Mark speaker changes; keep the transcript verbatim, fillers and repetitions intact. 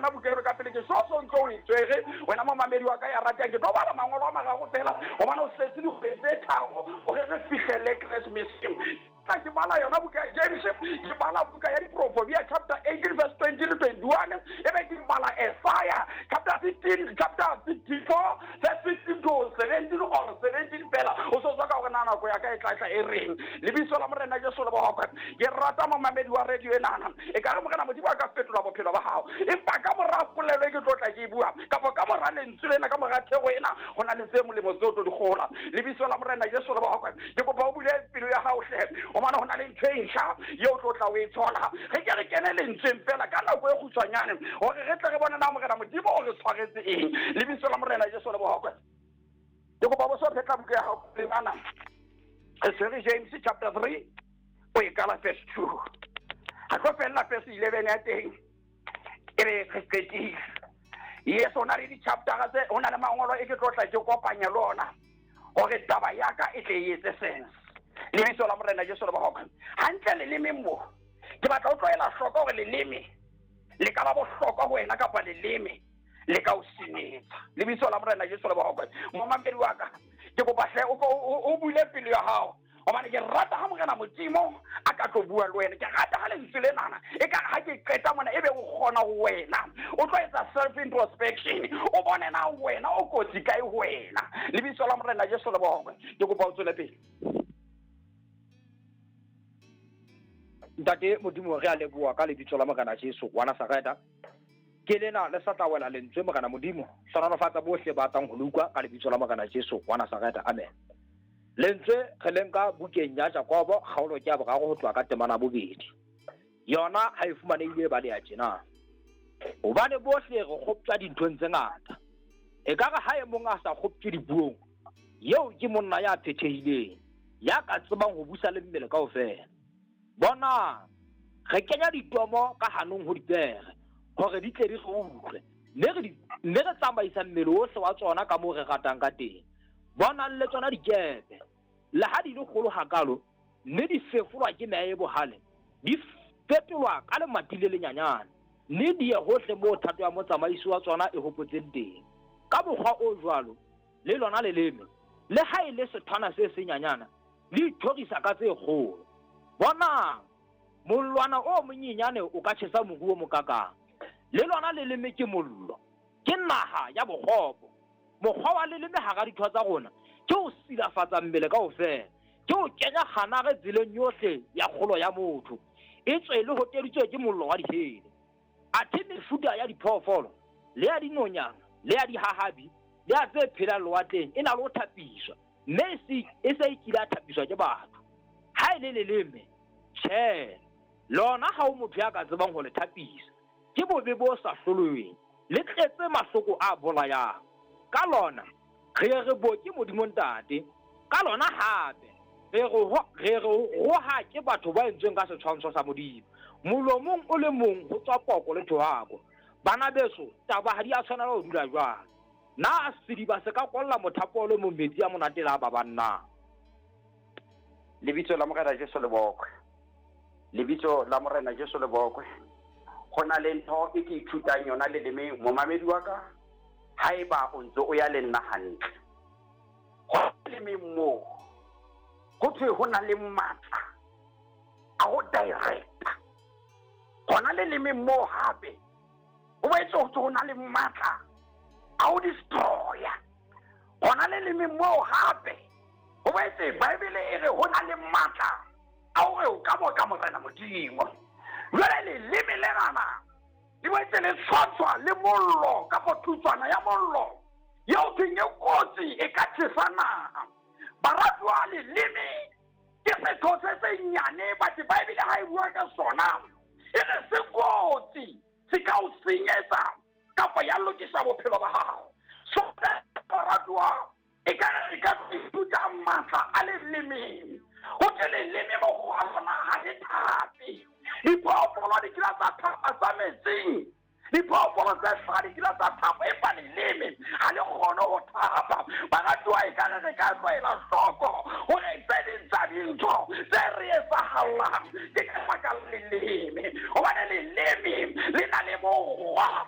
Speaker 1: yona buka eno ka pele ke so so ntse o e tshwere wena momamedi wa ka ya ratang ke tlo bala mangolo a mararo fela gobane o setse dikgwedi tse tharo gore re fihlele Keresemeseng. Ke bala yona buka ya James, ke bala buka ya Diproverbia chapter eighteen verse twenty to twenty-one, e be ke bala Isaiah chapter fifteen, chapter fifty-four verse fifteen to seventeen or seventeen fela. O so tswa ka gore na nako ya ka e tla tla e reng. Lebitso la Morena Jesu le bokwe. Ke rata momamedi wa radio enana. E ka re Morena Modimo a ka fetola bophelo ba hao. Empa ka mora polelo e ke tlo tla ke e bua, kapa ka mora lentswe lena, ka mora thero ena, ho na le tse molemo tseo tlo di kgola. Lebitso la Morena Jesu le bokwe. Ke kopa o bule pelo ya hao hle. Gobane ho na le ntho e ntjha eo tlo tla o e thola. Re ke re kene lentsweng fela ka nako e kgutshwanyane hore re tle re bone na Morena Modimo o re tshwaretse eng. Lebitso la Morena Jesu le bokwe. Ke kopa bo so phetla buka ya hao lemana. Re tshwere James chapter three o e kala verse two. Ha tlo fella verse eleven ya teng e be re qetile. Yes, o na le di-chapter tse, ho na le mangolo e ke tlo tla ke kopanya le ona hore taba ya ka e tle e etse sense. Lebitso la Morena Jesu le bokwe. Hantle leleme mo ke batla o tlohela hloko hore leleme le ka ba bohlokwa ho wena kapa leleme le ka o senyetsa. Lebitso la Morena Jesu le bokwe. Momamedi wa ka ke kopa hle o bule pelo ya hao gobane ke rata ha Morena Modimo a ka tlo bua le wena. Ke rata ha lentswe lenana e ka ha ke qeta mona ebe o kgona ho wena o tlo etsa self introspection, o bone na wena o kotsi kae ho wena. Lebitso la Morena Jesu le bokwe. Ke kopa o tswele pele.
Speaker 2: Ntate Modimo re a leboha ka lebitso la Morena Jesu wa Nazareta. Ke lena le sa tla wela lentswe Morena Modimo. Hlohonolofatsa bohle ba tlang ho le utlwa ka lebitso la Morena Jesu wa Nazareta. Amen. Lentswe re le nka bukeng ya Jakobo kgaolo ke ya boraro ho tloha ka temana bobedi. Yona ha e fumanehile ba le ya tjena. Hobane bohle re kgoptjwa dinthong tse ngata. Ekare ha e mong a sa kgoptjwe dipuong, eo ke monna ya phethehileng, ya ka tsebang ho busa le mmele kaofela. Bona, re kenya ditomo ka hanong ho dipere hore di tle di re utlwe, mme re mme re tsamaisa mmele ohle wa tsona ka moo re ratang ka teng. Bonang le tsona dikepe, le ha di le kgolo hakalo, mme di fefolwa ke meya e bohale, di fetolwa ka lemati le lenyanyane, mme di ye hohle moo thato ya motsamaisi wa tsona e hopotseng teng. Ka mokgwa o jwalo, le lona leleme, le ha e le sethwana se senyanyana, le ithorisa ka tse kgolo. Bonang, mollwana o monyenyane o ka tjhesa moru o mokakang. Le lona leleme ke mollo, ke naha ya bokgopo. Mokgwa wa leleme hara ditho tsa rona ke o silafatsa mmele kaofela, ke o kenya kganare tseleng yohle ya kgolo ya motho, e tswe le hoteditswe ke mollo wa dihele. Athe mefuta ya diphoofolo le ya dinonyana le ya dihahabi le ya tse phelang lewatleng e na le ho thapiswa, mme e se e kile ya thapiswa ke batho. Ha e le leleme, tjhe, lona ha o motho ya ka tsebang ho le thapisa. Ke bobe bo sa hlolweng, le tletse mahloko a bolayang. Ka lona re re boke Modimo Ntate, ka lona hape re re re roha ke batho ba entsweng ka setshwantsho sa Modimo. Molomong o le mong ho tswa poko le thohako. Bana beso, taba ha di a tshwanela ho dula jwalo. Na sediba se ka kolla mothapo o le mong metsi a monate la ba banna?
Speaker 1: Lebitso la Morena Jesu le bokwe. Lebitso la Morena Jesu le bokwe. Ho na le ntho e ke ithutang yona lelemeng momamedi wa ka, haeba o ntse o ya le nna hantle. Ho lelemeng moo ho thwe ho na le matla a ho directa. Hona lelemeng moo hape ho boetse ho thwe ho na le matla a ho destroya. Hona lelemeng moo hape ho boetse Bible e re ho na le matla a hore o ka boka Morena Modimo. Jwale leleme lenana le boetse le tshwantshwa le mollo kapa thutswana ya mollo eo thweng e kotsi e ka tjhesa naha. Baratuwa, leleme ke setho se senyane, but Bible ha e bua ka sona e re se kotsi, se ka o senyetsa kapa ya lokisa bophelo ba hao. So baratuwa, e ka re ka ithuta matla a lelemeng. Ho thwe leleme mokgwa wa lona ha le thape. Diphoofolo di kile tsa thapa tsa metsing, diphoofolo tse hlaha di kile tsa thapa, empa leleme ha le kgone ho thapa. Baratuwa, e ka re re ka tlwaela hloko